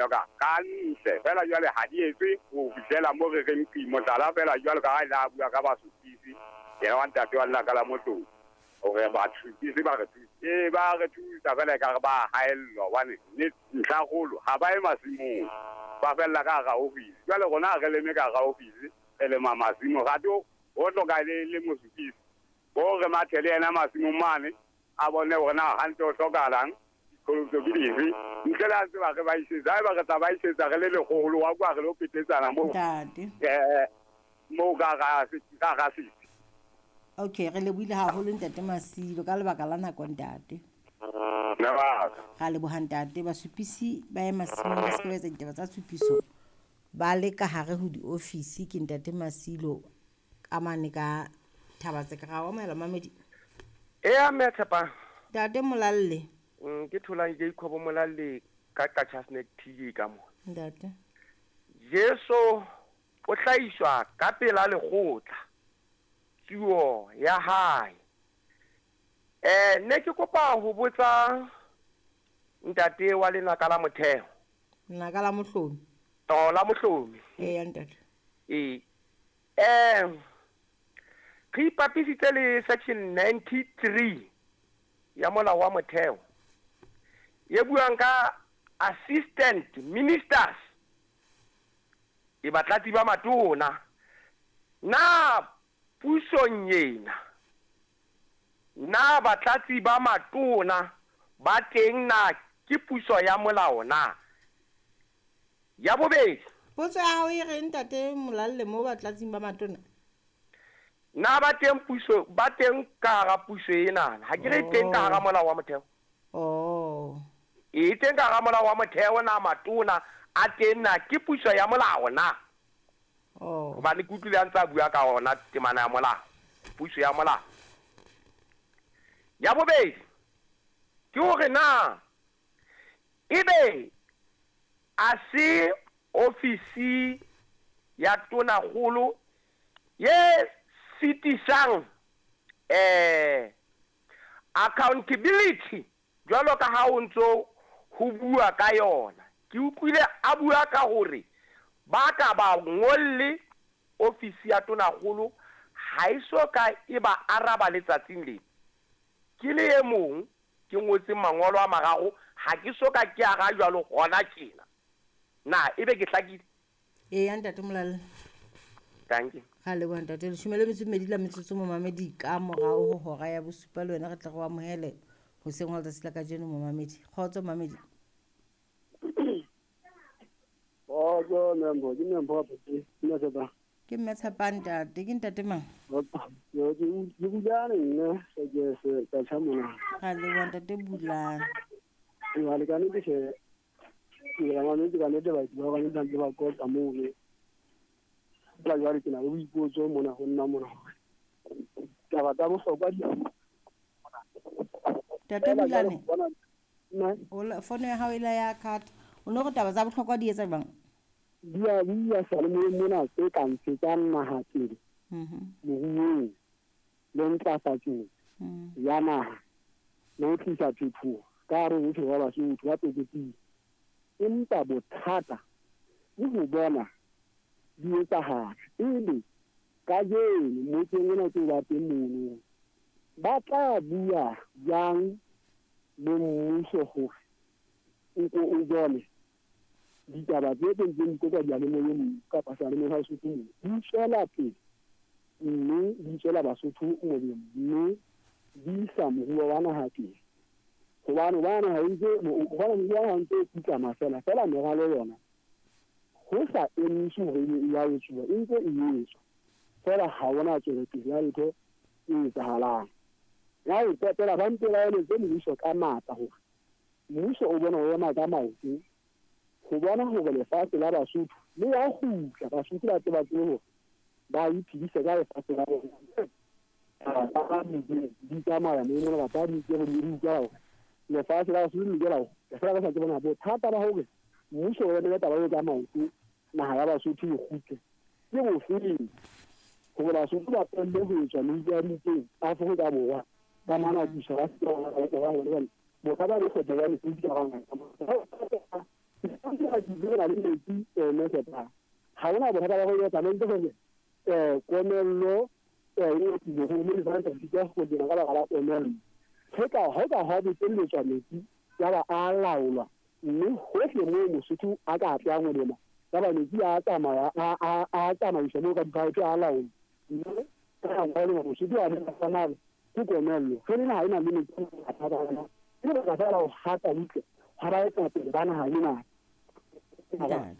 mme ka kantle fela jwale ha di etswe ho fihlela mo re reng qi mohlala fela jwalo ka ha ile a bua ka basupisi yena wa ntate wa lenaka la motlong hore basupisi ba re thusa ee ba re thusa fela ekare ba haellwa hobane ntlhakgolo ha ba ye masimong ba fella ka hara ofisi jwale rona ha re leme ka hara ofisi re lema masimo rate ho hloka le mosupisi bo re mathe le yena masimong mane a bone hore na hantle ho hlokahalang diqholotso ke dife ntle le a tseba re ba isetsa haeba re tla ba isetsa re le lekgolo wa kwa re lo petetsana moo ntate moo ka ga setsi. Okay, re lebohile haholo ntate Masilo ka lebaka la nako ntate. Ra leboha ntate. Basupisi ba ye masimong ba se ke ba etsa ditaba tsa tshupiso ba le ka hare ho diofisi. Ke ntate Masilo ka mane ka Thabatseka. Ra o amohela mamedi. Eya mme Tshepang. Ntate Molalle. Ke tholang Jacob Molalle ka Qacha's Nek TJ ka mo. Ntate. Jesu o hlahiswa ka pela lekgotla tsuo ya hae. Ne ke kopa ho botsa ntate wa lenaka la motheo. Lenaka la mohlomi. To la mohlomi. Eya ntate. Ee. Re ipapisitse le section 93 ya molao wa motheo e buang ka assistant ministers e batlatsi ba matona. Na pusong ena na batlatsi ba matona ba teng na ke puso ya molao na? Ya bobedi, Potso ya hao e reng ntate Molalle mo batlatsing ba matona? Na ba teng puso ba teng ka hara puso ena? Ha ke re teng ka hara molao wa motheo. Oh. E teng ka hara molao wa motheo na matona a teng na ke puso ya molao na? Oh. Hobane ke utlwile a ntse a bua ka ona temana ya molao, puso ya molao. Ya bobedi ke hore na ebe a se ofisi ya tonakgolo ye sitisang accountability jwalo ka ha o ntso ho bua ka yona. Ke utlwile a bua ka hore ba ka ba ngolle ofisi ya tonakgolo ha e so ka e ba araba letsatsing lena. Ke le e mong ke ngotseng mangolo a mararo ha ke so ka ke ara jwalo hona tjena. Na ebe ke hlakile? Eya ntate Molalle. Thank you. Ga leboha ntate. 12 la metsotso momamedi ka morao ho hora ya bosupa le wena re tle re o amohele hoseng hwa letsatsi la kajeno momamedi. Kgotso momamedi. Kgotso Membo, ke Membo wa Botse, mme Tshepang. Ke mme Tshepang ntate, ke ntate mang? Yo, ke Bulane nna, ke se ka tjha mona. Ga leboha ntate Bulane. Jwale ka nnete tjhe, ke la mametse ka nnete batho ba bang ba ba qoqa mono. Fela jwale ke na le boipotso mona ho nna mona hore taba tsa bohlokwa di Ntate Bulane, nna fono ya hao e la ya cut. O no re taba tsa bohlokwa di etsa jwang? Di a bua seyalemoyeng mona tse ka ntshetsang naha pele moruong le ntlafatsong ya naha le ho tlisa phetoho ka hare ho bophelo ba Basotho ba tlokotsing. Empa bothata ke ho bona di etsahala. Ebe kajeno motseng ona tse ba teng mono ba tla bua jwang le mmuso hore o ko o bone ditaba tse teng tse di diyalemoyeng kapa seyalemoyeng sa Lesotho moo di tswela pele mme di tswela Basotho molemo mme di isa moruo wa naha pele. Hobane ba naha ntse hobane moruo wa naha ntse o putlama fela fela meralo yona ho sa emise hore e ya etsuwa e ntse e etswa fela ha hona tswelopele ya letho e etsahalang. Ya ho qetela ba mpe ba eletse mmuso ka matla hore mmuso o bona o ema ka maoto ho bona hore lefatshe la Basotho le ya kgutla, Basotho ba tle ba tsebe hore ba iphedise ka lefatshe la bona. Ba di tsamaya moo mona kapa di ke di utlwa hore lefatshe la Basotho le lokela ho fela ba sa tsebe bona bothata ba hore mmuso o emele taba eo ka maoto naha ya Basotho e kgutle ke bofeng hore Basotho ba tlohelle ho etswa meutwa Afrika Borwa ba mana puso ba se ba hore bothata bo kgotsa ba Lesotho ka bangata. Re na le metsi mme ha hona bothata ba go etsa mente gore komello e tlile go mo lefatsheng ka go dira ka baka la komello. Ge ka ha botelletswa metsi ya ba a laolwa mme hohle moo Mosotho a ka tlang ho lema ya ba metsi a tsamaya a tsamaiswa moo ka diphaephe a laolwa mme ka ngwana Mosotho a re tsana ke komello ge le naha e na le metsi a mathata a yona ke lebaka fela ho hata butle ha ba etsa pele ba naha ena ke mathata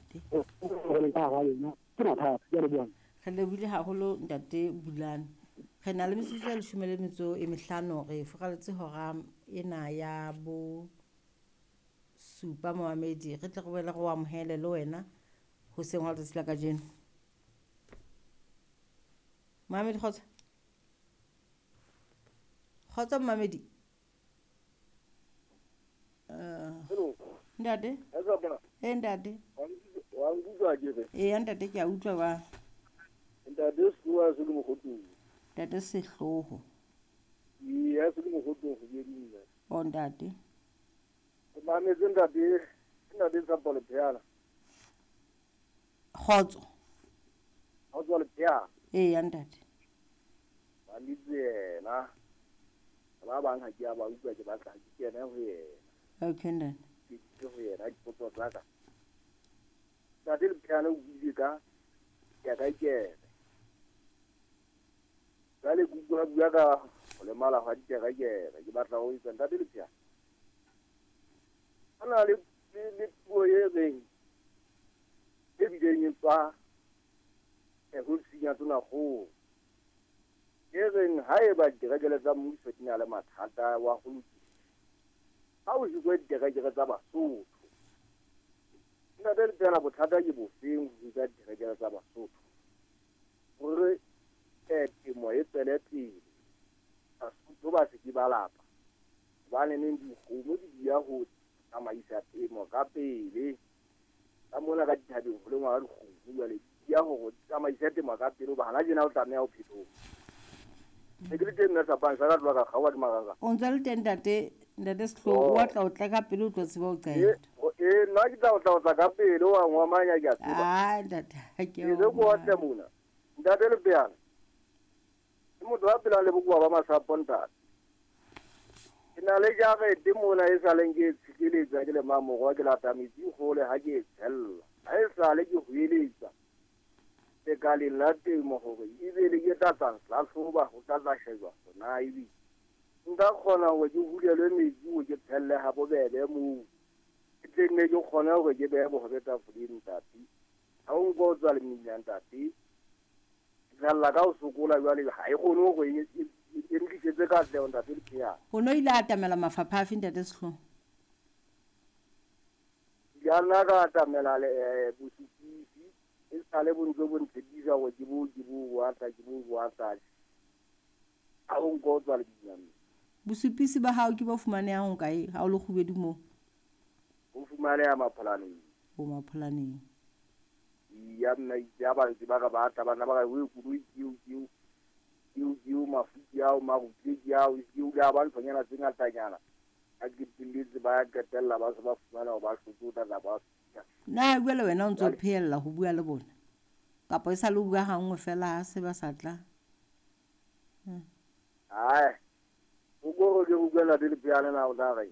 ke leboha. Re lebohile haholo ntate Bulane. Re na le metsotso ya 15 re furaletse hora ena ya bo supa momamedi. Re tle re boele re o amohele le wena hoseng hwa letsatsi la kajeno. Momamedi kgotso. Kgotso momamedi. Ntate. Ntate. Wa nkutlwa ke re. Ee ntate ke a utlwa ba. Ntate Sehloho se le mogotong. Ntate Sehloho. Ee, se le mogotong go bedinna. O ntate. O mametse ntate, ntate Tshepo Lepheana. Kgotso. Kgotso Lepheana. Ee ntate. Ba litse yena. Ba bang ha ke a ba utlwa ke batla ke kene ho yena. Okay ntate. Ke ho yena dipotso tsa ka. Ntate Lepheana o buile ka ya ka kene. Jwale ke utlwa bua ka ho lemala hwa diterekere ke batla ho etsa ntate Lepheana. Ho na le puo e reng e bileng e tswa ofising ya Tonakgolo e reng haeba diterekere tsa mmuso di na le mathata wa ho lokisa ha o hikwe diterekere tsa Basotho. Ntate Lepheana bothata ke bofeng ho hika diterekere tsa Basotho hore temo e tswele pele Basotho ba se ke ba lapa hobane neng dikgomo di dia ho tsamaisa temo ka pele ka mona ka dithabeng ho lengwa ka dikgomo jwale di ya hore tsamaisa temo ka pele hoba hana tjena o tlameha ho phetoha. Ne ke le teng nna Sapang sa ka tloha ka kgaoha ke maranga. O ntse le teng ntate ntate Sehloho o tla o tla ka pele o tlo tseba o qeta. Ee nna ke tla o tla ka pele wa ngwamanya ke a tseba. Ah ntate ha ke o. Ke ko otle mona. Ntate Lepheana. Ke motho a phelang le bokowa ba masapo ntate. Ke na le jarete mona e sa leng ke tshikiletsa ke le mamorwa ke lata metsi hole ha ke e tshella. Ha e sale ke hoeletsa lekaleng la temo hore ebe le ke tla tla hlahloba ho tla tla shejwa na ebe nka kgona hore ke hulelwe metsi hore ke tshelle ha bobebe moo ke tle nne ke kgone hore ke behe bohobe tafoleng ntate. Ha o nka o tswa le mmila ntate tshella ka ho sokola jwale ha e kgone hore e ntlisetse katleho ntate Lepheana. O no ile atamela mafapha afe ntate Sehloho? Ya nna ka atamela bosupisi e sale bo ntse bo ntshepisa hore ke bo boatla ke bo boatla. Ha o nka o tswa le mmila. Bosupisi ba hao ke bo fumanehang kae ha o le kgubedu moo? Bo fumaneha Mapholaneng. Bo Mapholaneng. Ya nna ya ba ntse ba ka ba tla bana ba ka o koloi ke o mafuti ao marutle ke ao ke o ba nthonyana tse ngatanyana a ke telletse ba qetella ba se ba fumana ho ba hlotsa tla ba. Na jwale wena o ntso phehella ho bua le bona kapa e sa le bua hangwe fela ha se ba sa tla? Ai o go ke bua la Lepheana na o tla re.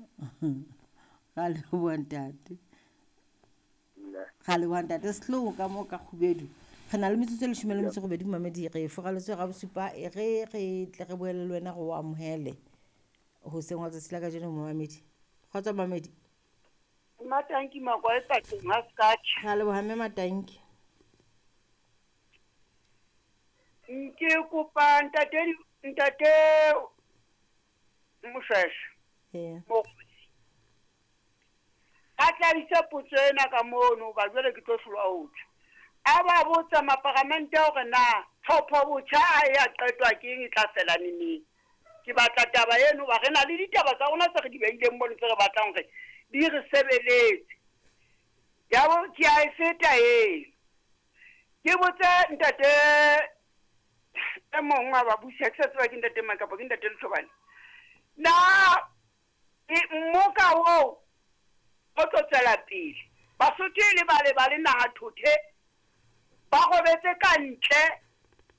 Ga leboha ntate. Ga leboha ntate Sehloho ka mo ka kgubedu. Re na le metsotso e 18 mamedi re furaletswe ga bosupa e re re tle re boele le wena go amohele hoseng hwa letsatsi la kajeno momamedi. Kgotso momamedi. Matanki makwa e pateng ha skatch. Ga leboha mme Matanki. Nke kopa ntate Moshweshwe. Ee. A tla potso ena ka mono ba jwale ke tlo hlolwa ho tjho. A ba botsa maparamente hore na tlhopho botjha a ya qetwa ke eng e tla fela neneng. Ke batla taba eno ba re na le ditaba tsa rona tse re di beileng mono tse re batlang hore di re sebeletse. Ya bo ke a e feta eo. Ke botse ntate e mong wa babusi ha ke sa tseba ke ntate mang kapa ke ntate Lethobane. Na mmoka oo o tlo tswela pele Basotho e le bale ba le naha thothe, ba robetse ka ntle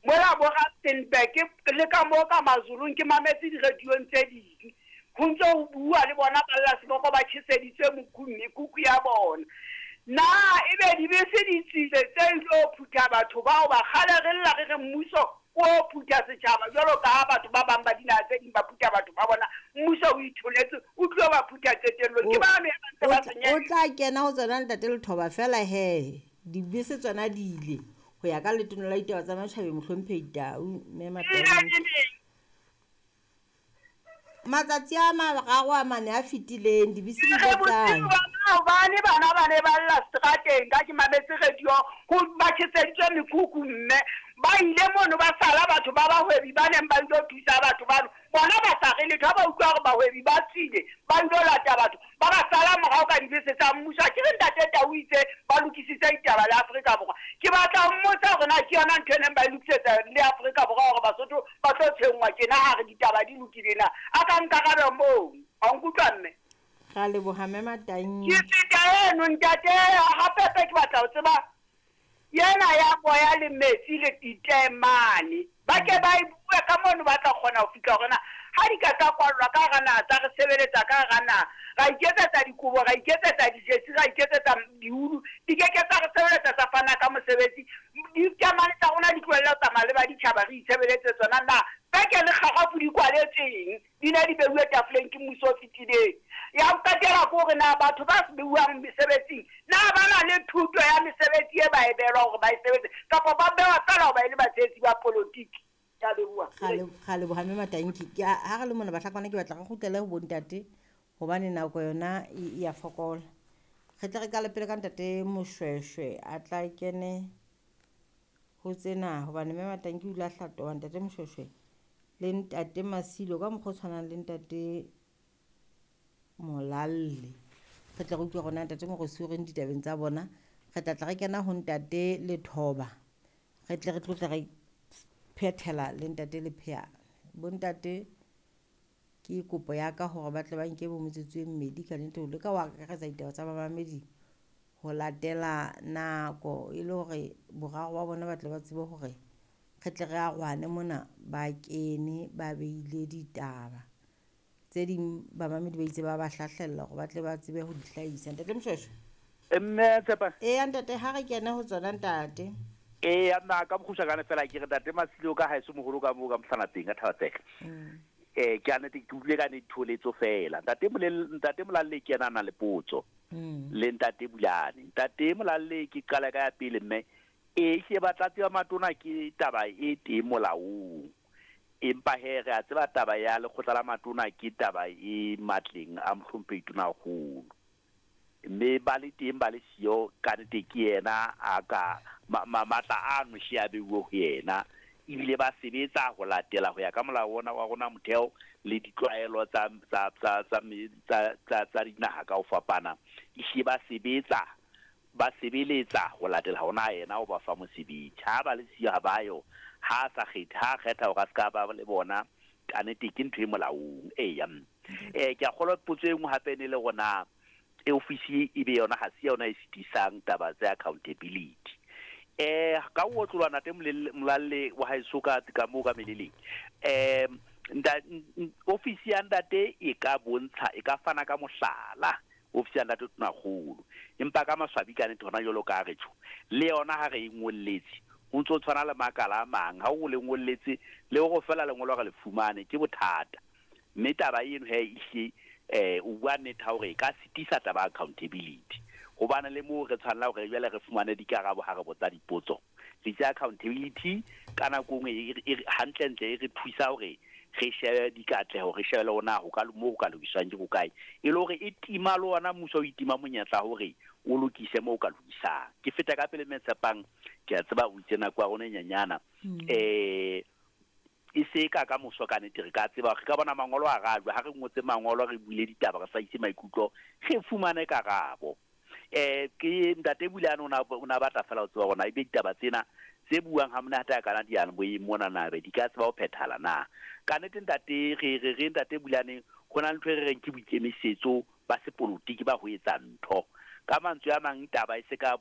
mola bo Rustenburg le ka moo ka Mazulung ke mametse diradiong tse ding ho ntse ho bua le bona ba lla seboko ba tjheseditswe mekhukhu ya bona. Na ebe dibese di tswile tse ilo phutha batho bao ba kgale re lla re re mmuso o phutha setjhaba jwalo ka ha batho ba bang ba dinaha tse ding ba phutha batho ba bona, mmuso o itholetse o tlo ba phutha qetellong. Ke bano ya ba ntse ba senyeha. O tla kena ho tsona ntate Lethoba fela he dibese tsona di ile ho ya ka Letona la Ditaba tsa Matjhabeng Mohlomphehi Tau Mme Matau. Matsatsi a mararo a mane a fetileng dibese di ile tsa Maobane bana ba ne ba lla seterateng ka ke mametse radio ho ba tjheseditswe mekhukhu mme ba ile mono ba sala batho ba bahwebi ba neng ba ilo thusa batho bano bona ba sa re letho ha ba utlwa hore bahwebi ba tswile ba ilo lata batho ba ba sala morao ka dibese tsa mmuso. Ha ke re ntate Tau itse ba lokisitse ditaba le Afrika Borwa, ke batla ho mmotsa hore na ke yona ntho e neng ba e lokisetsa le Afrika Borwa hore Basotho ba tlo tshwenngwa tjena ha re ditaba di lokile na? A ka nkarabe moo. A nkutlwa mme? Ra leboha mme Matangi. Ke feta eno ntate hapepe ke batla ho tseba yena ya moya le metsi le ditaemane. Ba ke ba e bue ka mono ba tla kgona ho fihla hore na ha di ka tsa kwallwa ka hara naha tsa re sebeletsa ka hara naha, ra iketsetsa dikobo, ra iketsetsa dijesi, ra iketsetsa diulu, di ke ke tsa re sebeletsa tsa fana ka mosebetsi. Ditaemane tsa rona di tlohelle ho tsamaya le ba ditjhaba re itshebeletse tsona na? Peke le kgarafu di kwaletseng di ne di beuwe tafoleng ke mmuso o fetileng. Ya ho qetela ke hore na batho ba beuwang mesebetsing na ba na le thuto ya mesebetsi e ba e beelwa hore ba e sebetse kapa ba bewa feela hoba e le batshehetsi ba politiki. Ke a leboha. Ra leboha mme Matanki. Ke ha re le mona bahlakwana ke batla re kgutlele ho bontate hobane nako yona e ya fokola. Re tle re qale pele ka ntate Moshweshwe a tla kene ho tsena hobane mme Matanki o ile a hlatoha ntate Moshweshwe le ntate Masilo ka mokgwa o tshwanang le ntate Molalle. Re tle re utlwe hore na ntate Morosi o reng ditabeng tsa bona. Re tla tla re kena ho ntate Lethoba. Re tle re tlotle re phethela le ntate Lepheane. Bontate ke kopo ya ka hore ba tle ba nke bo metsotso e mmedi ka nnete ho leka ho akaretsa ditaba tsa bamamedi ho latela nako e le hore boraro ba bona ba tle ba tsebe hore re tle re arohane mona ba kene ba beile ditaba tse ding bamamedi ba itse ba ba hlahlella hore ba tle ba tsebe ho di hlahisa. Ntate Moshweshwe. Mme Tshepa. Eya ntate ha re kene ho tsona ntate. Eya nna ka bokgutshwanyane fela ke re ntate Masilo ka haeso moholo ka moo ka Mohlanapeng ka Thabatseka. Ke a nete ke utlwile ka ne ditholetso fela. Ntate Molel ntate Molalle ke yena a nang le potso. Le ntate Bulane. Ntate Molalle ke qala ka ya pele mme e hle batlatsi ba matona ke taba e teng molaong. Empa he re a tseba taba ya lekgotla la matona ke taba e matleng a mohlomphehi Tonakgolo. Mme ba le teng ba le siyo ka nnete ke yena a ka matla ano hle a beuwe ho yena. Ebile ba sebetsa ho latela ho ya ka molao ona wa rona motheo le ditlwaelo tsa tsa tsa tsa tsa tsa tsa dinaha ka ho fapana. Ehlile ba sebetsa ba sebeletsa ho latela hona yena o ba fa mosebetsi. Ha ba le siyo ha ba yo, ha a sa kgethe, ha a kgetha hore a se ka ba le bona, ka nnete ke ntho e molaong. Eya. Ke a kgolwa potso e nngwe hape e ne le hore na ofisi e be yona ha se yona e sitisang taba tsa accountability. Ka ho otloloha ntate Molalle wa haeso ka ka moo ka meleleng. Ofisi ya ntate e ka bontsha e ka fana ka mohlala ofisi ya ntate Tonakgolo. Empa ka maswabi ka nnete hona jwalo ka re tjho le yona ha re e ngolletse ho ntso tshwana le makala a mang ha o le ngolletse le hore fela lengolo re le fumane ke bothata. Mme taba eno he ehlile o bua nnete ha hore e ka sitisa taba accountability. Hobane le moo re tshwanela hore jwale re fumane dikarabo ha re botsa dipotso. Re itse accountability ka nako nngwe e hantlentle e re thusa hore re shebe dikatleho, re shebe le hore na ho ka moo ho ka lokiswang ke hokae. E le hore e tima le ona mmuso o itima monyetla hore o lokise moo o ka lokisang. Ke feta ka pele mme Tshepang, ke a tseba o itse nako ya rona e nyenyana. E se ka ka moso ka nnete re ka tseba re ka bona mangolo a rajwa ha re ngotse mangolo re buile ditaba re hlahise maikutlo re fumane karabo. Ke ntate Bulane o na batla fela ho tseba hore na ebe ditaba tsena tse buang ha monate a kana diyalemoyeng mona na be di ka tseba ho phethahala na. Ka nnete ntate re re re ntate Bulane ho na le ntho e re reng ke boikemisetso ba sepolotiki ba ho etsa ntho. Ka mantswe a mang, taba e se ka